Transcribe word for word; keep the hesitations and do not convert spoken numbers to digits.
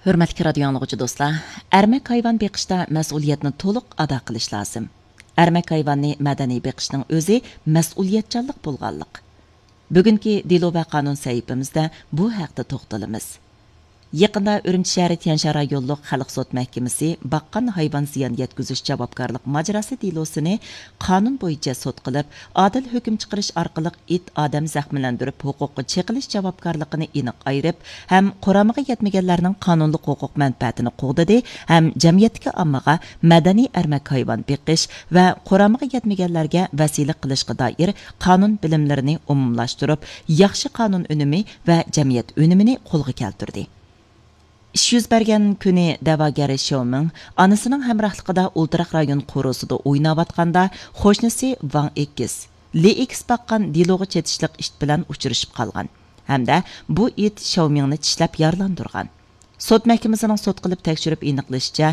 ھۆرمەتلىك رادىيو ئاڭلىغۇچى دوستلار، ئەرمەك ھايۋان بېقىشتا مەسئۇلىيەتنى تولۇق ئادا قىلىش لازىم. ئەرمەك ھايۋاننى مەدەنىي بېقىشنىڭ ئۆزى مەسئۇلىيەتچانلىق بولغانلىق. بۈگۈنكى دېلو ۋە قانۇن سەھىپىمىزدە بۇ ھەقتە توختىلىمىز. يېقىندا ئۈرۈمچى شەھىرى تيەنشان رايونلۇق خەلق سوت مەھكىمىسى باققان ھايۋان زىيان يەتكۈزۈش جاۋابكارلىق ماجىراسى دېلوسىنى قانۇن بويىچە سوت قىلىپ، ئادىل ھۆكۈم چىقىرىش ئارقىلىق ئىت ئادەم زەخىملەندۈرۈپ ھوقۇققا چېقىلىش جاۋابكارلىقىنى ئېنىق ئايرىپ ھەم قۇرامىغا يەتمىگەنلەرنىڭ قانۇنلۇق ھوقۇق مەنپەئەتىنى قوغدىدى ھەم جەمئىيەتتىكى ئاممىغا مەدەنىي ئەرمەك ھايۋان بېقىش ۋە قۇرامىغا يەتمىگەنلەرگە ۋەسىلە قىلىشقا دائىر قانۇن بىلىملىرىنى ئومۇملاشتۇرۇپ، ياخشى قانۇن ئۈنۈمى ۋە جەمئىيەت ئۈنۈمىنى قولغا كەلتۈردى. ئىش يۈز بەرگەن كۈنى دەۋاگەر شياۋمىڭ ئانىسىنىڭ ھەمراھلىقىدا ئولتۇراق رايون قورۇسىدا ئويناۋاتقاندا، قوشنىسى ۋاڭ ئېكىس، لى ئېكىس باققان دېلوغا چېتىشلىق ئىت بىلەن ئۇچرىشىپ قالغان ھەمدە بۇ ئىت شياۋمىڭنى چىشلەپ يارىلاندۇرغان. سوت مەھكىمىسىنىڭ سوت قىلىپ تەكشۈرۈپ ئېنىقلىشىچە،